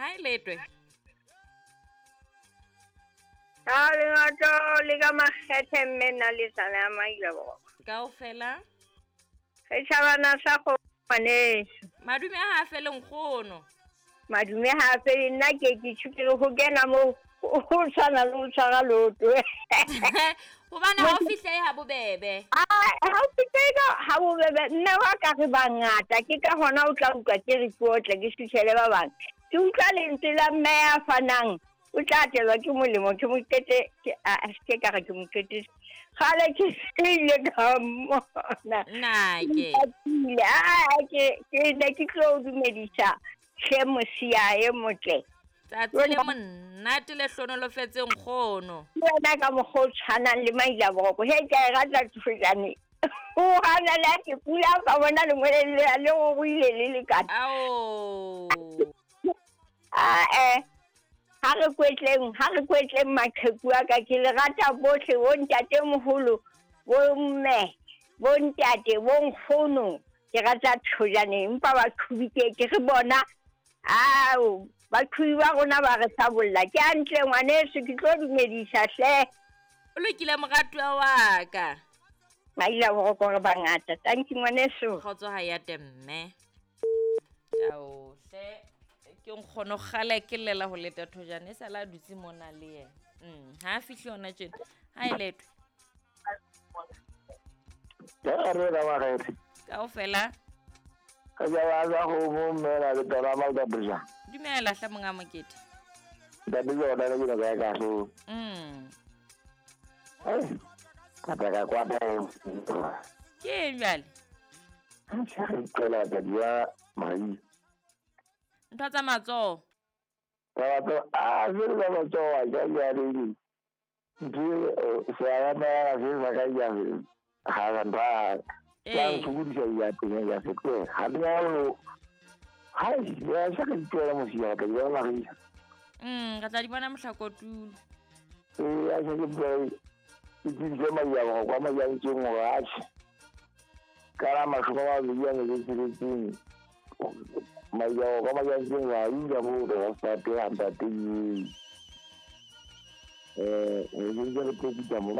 Hae letwe. A le ngato le ka makgethe mme nna le tsana ya maila. Kaofela. Re tjhabana sa go ngwaneso. Madume a ha fele nkgono. Madume ha fele nna ke ke tshukile ho kena mo ho tshwana le ho tshwara loto. Hobane ha o fihle ha bobebe. Ha o fihle ha bobebe nna wa ka re bangata ke ka hona o tla utlwa ke re ke otle ke suthele ba bang. Ke utlwa lentswe la mme ya fanang. O tla atelwa ke molemo ke mokete ke a ke ka re ke mokete. Kgale ke ile ka mona. Nna ke. Ke ne ke tlo dumedisa hle mosia e motle. Tsatsi le monate le hlonolofetseng nkgono. Wena ka mokgwa o tshwanang le maila boroko. He ke a e rata thojane. O hana le ke pula ka bona lengwele le go ile le le ka. Ao. Ha re kwetleng maqheku a ka ke le rata bohle bo ntate moholo bo mme bo ntate bo nkgono ke rata thojane empa baqhubi ke re bona ao baqhubi ba rona ba re sabolla ke hantle ngwaneso ke tlo dumedisa hle. O lokile moratuwa wa ka. Maila boroko re bangata. Thank you ngwaneso. Kgotso ha ya temme. Ao hle ke nkgono kgale ke llela ho leta thojane e sala a dutse mona le yena. Ha fihle yona tjena. Ha e letwe. Ke re ra ba re. Kaofela. Ka ja ba go mo mela le taba ma ka brija. Dumela hle monga mokete. Ntate yona le ke ka so. Ka ka kwa ba. Ke jwale. Ha re qela ka dia mai. Ntho tsa matsoho. Tsa a se le matsoho a ja ya le. Di se a ma se ba ka ya ha ga ba. Ya ntshudisa ya teng ya se ke. Ha di a lo. Ha ya sa ke tloela mosia ka ya la re. Re tla di bona mohlakotulo. Ya se ke tloela. Ke dintse ma ya go kwa ma ya ntseng go a tsh. Ka la mashoko ba le ya le tsetseng. Maya ka maya ntseng wa inja mo re sa te anta te. Eh, re ntse re tlo mo